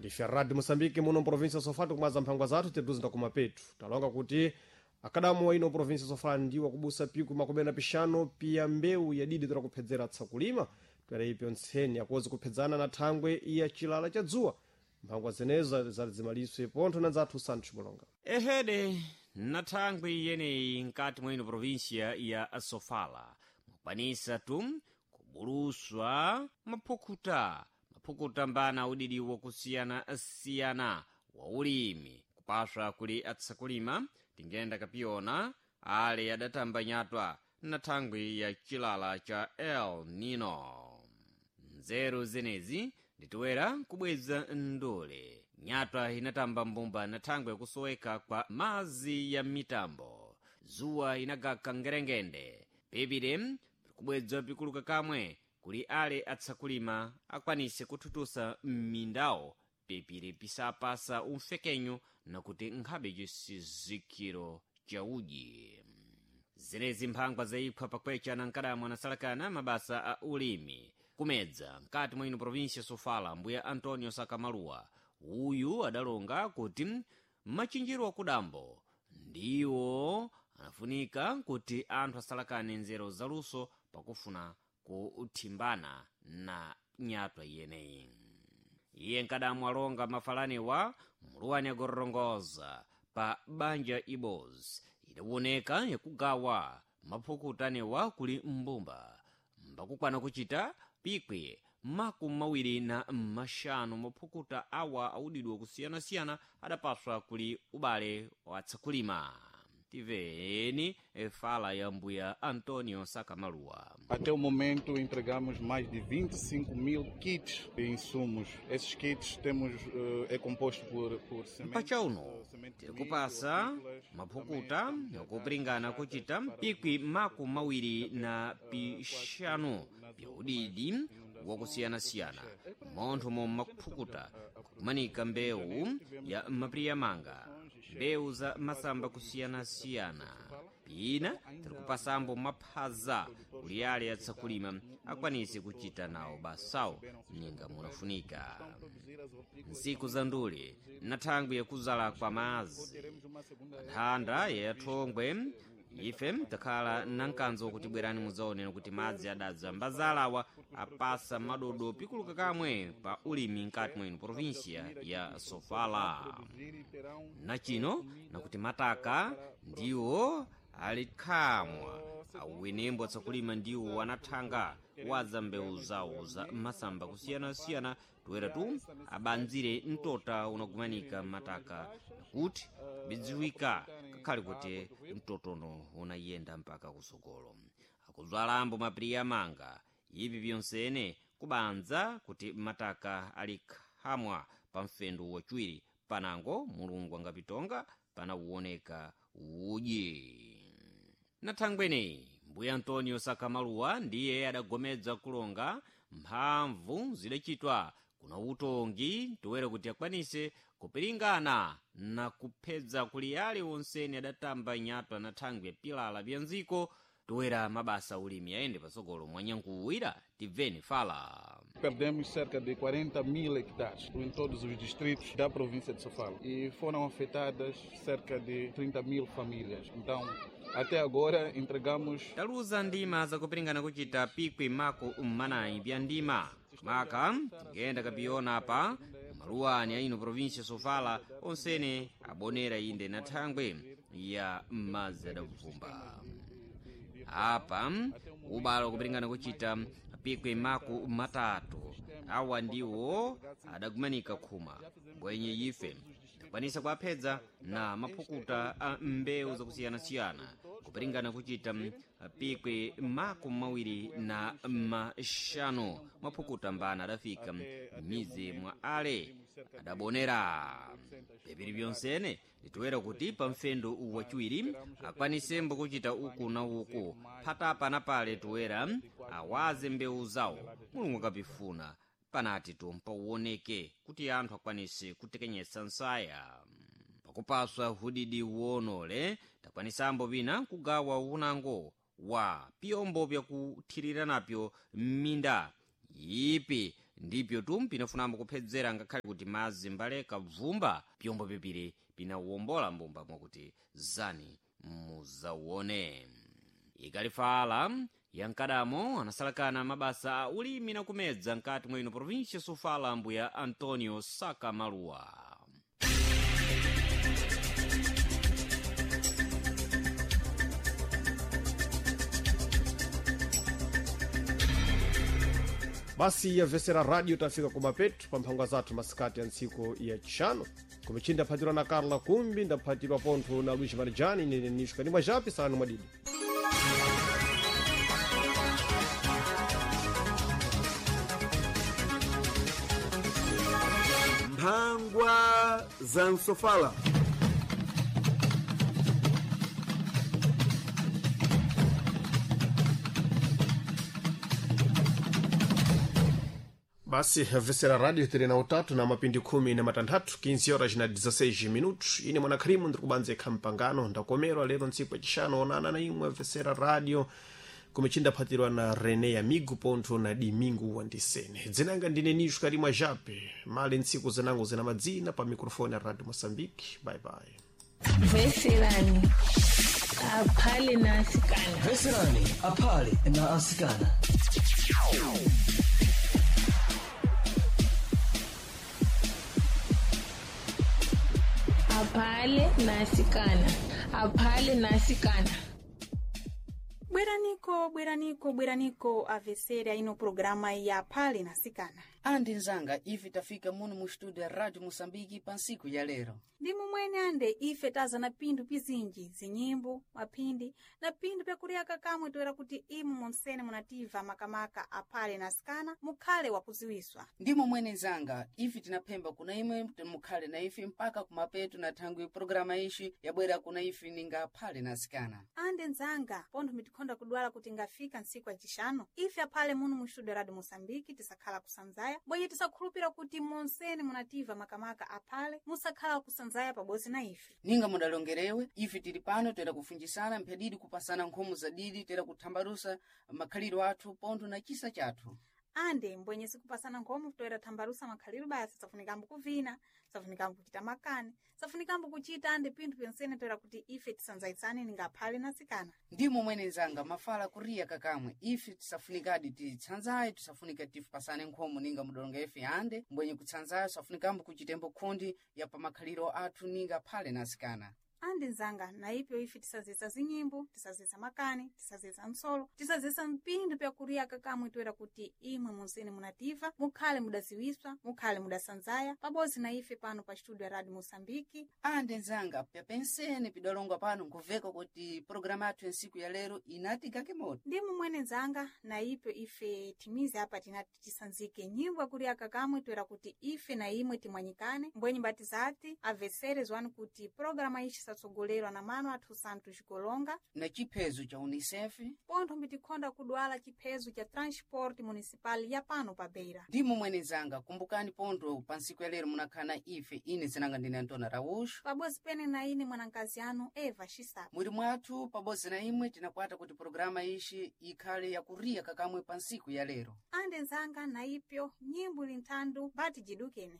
Ndife Radio Moçambique muno província Sofala, tikumaza mphangwa zathu tetuzinda kumapetu. Talonga kuti akadamu wa ino província Sofala ndiwo akubusa piku 25 piya mbewu yadidi tora kuphedzera tsakulima twera ipyo ntseni akuwezi kuphedzana na thangwe ya chilala cha dzuwa. Mphangwa zenezo zalizimaliswe pontho na nzathu Santos Mulonga. Ehede na thangwi yeneyi nkati mwa ino província ya Sofala mukwanisa tu kubuluswa maphukuta maphukuta mbana udidi wakusiyana-siyana wa ulimi kupaswa kuli atsakulima. Tingenda kapiyona ale adatamba nyatwa na thangwi ya chilala cha El Nino. Nzeru zenezi nditiwera kubweza ndule nyatwa inatamba mbumba na thangwi yakusoweka kwa mazi ya mitambo, zuwa inagaka ngerengende pepire kubwedzwa pikuluka kamwe kuli ale atsakulima akwanise kuthutusa m'mindawo pepire pisapasa umfekenyo nakuti nkhabe chisizikiro cha udyi. Zenezi mphangwa zayiphwa pakwecha na nkadamwa anasalakana mabasa a ulimi kumedza nkati mwa ino província Sofala, mbuya Antonio Sakamaluwa uyu adalonga kuti machinjiro akudambo ndiwo anafunika kuti anthu asalakane nzeru zaluso pakufuna kuthimbana na nyatwa iyeneyi. Iye nkadamu alonga mafalaniwa muluwani agorongoza pa banja ibos idawoneka yakugawa maphukutanewa kuli mbumba mbakukwana kuchita pikwi 25 maphukuta awa audidwa kusiyanasiyana adapaswa kuli ubale watsakulima. Tiveni fala ya mbuya Antonio Sakamaluwa. Até o momento entregamos mais de 25 mil kits de insumos. Esses kits temos, é composto por sementes, Mpachauno semente de tiri milho, kupasa hortícolas, maphukuta também estamos a yakupringana dar kuchita para pikwi os 25 byaudidi wakusiyanasiyana montho momwe maphukuta kumanika mbewu ya mapiriyamanga, mbewu za masamba kusiyanasiyana. Pina tiri kupasambo maphaza kuli ale atsakulima akwanise kuchita nawo basawo ninga munafunika. Ntsiku za ndule na thangwi yakuzala kwa mazi nthanda yathongwe ife takhala nankanzo kuti bwerani mudzaonera kuti madzi adadza mbazalawa apasa madodo pikuluka kamwe pa ulimi nkati mwenu província ya Sofala. Nachino nakuti mataka ndiwo ali khamwa auwenembo atsakulima ndiwo anathanga waza mbewu zawo za masamba kusiyanasiyana toera tu abanzire mtota unagumanika mataka nakuti bidziwika kakhale kuti mtotono unayenda mpaka kusogolo akuzwalambo mapiriya manga ivi byonsene kubanza kuti mataka ali khamwa pa mfendo wachiwiri panango Mulungu angapitonga panawuoneka udyi. Na thangweneyi mbuya Antonio Sakamaluwa ndiye adagomedza kulonga mphamvu zidachitwa kuna utongi toera kuti akwanise kupiringana na kuphedza kuli ale onsene adatamba nyatwa na thangwi ya pilala bya nziko toera mabasa ulimi ayende pasogolo mwanyankuwira. Tibveni fala. Perdemos cerca de 40 mil hectares em todos os distritos da província de Sofala e foram afetadas cerca de 30 mil famílias. Então, até agora entregamos Taluza ndima zakupiringana kuchita pikwi 40 bya ndima maka tingenda kapiyona apa maluwani aino província Sofala onsene abonera inde na thangwi ya madzi adavumba. Apa ubalo kupiringana kuchita pikwi 30 awa ndiwo adagumanika khuma mbwenye ife takwanisa kuaphedza na maphukuta a mbewu zakusiyanasiyana kupiringana kuchita pikwi 25 maphukuta mbana adafika m'mizi mwa ale adabonera. Pepiri byonsene litoera kuti pa mfendo wachiwiri akwanisembo kuchita uku na uku phatapa na pale toera awaze mbewu zawo Mulungu akapifuna panati tumpauoneke kuti anthu akwanise kutekenyetsa nsaya pakupaswa hudidi wonole. Takwanisambo pina kugawa unango wa piyombo byakuthirira napyo m'minda ipi. Ndipyo tu pinafunambo kuphedzera ngakhale kuti madzi mbaleka bvumba pyombo pipiri pinawombola mbumba mwakuti zani muzawone. Ikalifala yankadamo anasalakana mabasa a ulimi na kumedza nkati mwa ino província Sofala mbuya Antonio Saka Maluwa. Basi yamvesera radio tafika kumapetu pa mphangwa zathu masikati ya ntsiku ya chishanu. Kumichini ndaphatirwa na Carla Kumbi, ndaphatirwa pontho na Luiz Marijani, nene Nisho Kanimwa Japi, salani mwadidi. Mphangwa za Msofala. Basi vesera radio tiri na utatu na mapindi 13, 15 horas na 16 minutos. Ine mwanakhrimu ndiri kubanza ikha mpangano ndakomerwa lero ntsiku yachishanu onana na imwe vesera radio kumichini ndaphatirwa na Rene Amigo pontho na Domingo Wandisene. Dzinanga ndine Nisho Karimwa Jape mali ntsiku zinango zina madzina pa microfone ya Radio Moçambique. Bye bye. Veserani aphale na asikana. Veserani aphale na asikana. Aphale na asikana. Aphale na asikana. Bweraniko, bweraniko, bweraniko avesera ino programa ya Phale na Sikana. Andi nzanga ife tafika muno mu studio ya Radio Moçambique pa ntsiku ya lero. Ndi mumwene ande ife taza na pinthu pizinji, zinyimbo, maphindi na pinthu pyakuliyaka kamwe toera kuti imu monsene munativa makamaka aphale na asikana mukhale wakuziwiswa. Ndi momwene nzanga ife tinaphemba kuna imwe mukhale na ife mpaka kumapeto na thangwi programa ixi yabwera kuna ife ninga aphale na asikana. Ande nzanga pontho mitikhonda kudwala kuti ngafika ntsiku yacixanu ife aphale muno mu studio Radio Moçambique tisakhala kusanzaya bwenye tisakhulupira kuti monsene munativa makamaka aphale musakhala kusanzaya pabodzi na ife. Ninga mudalongerewe ife tili pano toera kufunjisana mphadidi kupasana nkhomo za didi toera kuthambalusa makhalidwe athu pontho na chisa chathu. Ande mbwenye sikupasana nkhomo toera thambalusa makhalidwe basi safunikambo kuvina, safunikambo kuchita makani, safunikambo kuchita ande pinthu pyonsene toera kuti ife tisanzayitsane ninga aphale na asikana. Ndi momwene nzanga mafala kuriya kakamwe ife tisafunikadi titsanzaye tisafunika tifupasane nkhomo ninga mudalonga ife ande mbwenye kutsanzayo safunikambo kuchitembo khundi ya pamakhaliro athu ninga aphale na asikana. Ande nzanga na ipyo ife tisazisa zinyimbo, tisazisa makani, tisazisa msolo, tisazisa mpindu pyakuliya kakamwe toera kuti imwe monsene munativa mukhale mudaziwiswa, mukhale mudasanzaya pabodzi na ife pano pa studio ya Radio Moçambique. Ande nzanga pyapensene pidalongwa pano nkuveka kuti programa yathu ya ntsiku ya lero inatigake moto. Ndi mumwene nzanga na ipyo ife timize apa tinati tisanzike nyimbo yakuliya kakamwe toera kuti ife na imwe timwanyikane mbwenye mbati zati avesere zwani kuti programa ici satsogolerwa na mano athu Santos Golonga Na chiphezo cha UNICEF pontho mbitikhonda kudwala chiphezo cha transport municipal ya pano pa Beira. Ndi momwene nzanga kumbukani pontho pa ntsiku ya lero munakhala na ife ine zinanga ndine Antona Raújo Pabodzi pene na ine mwanankazi anu Eva Xisapa. Mwiri mwathu pabodzi na imwe tinakwata kuti programa ixi ikhale yakuriya kakamwe pa ntsiku ya lero. Ande nzanga na ipyo nyimbo ili nthandu mbati jidukene.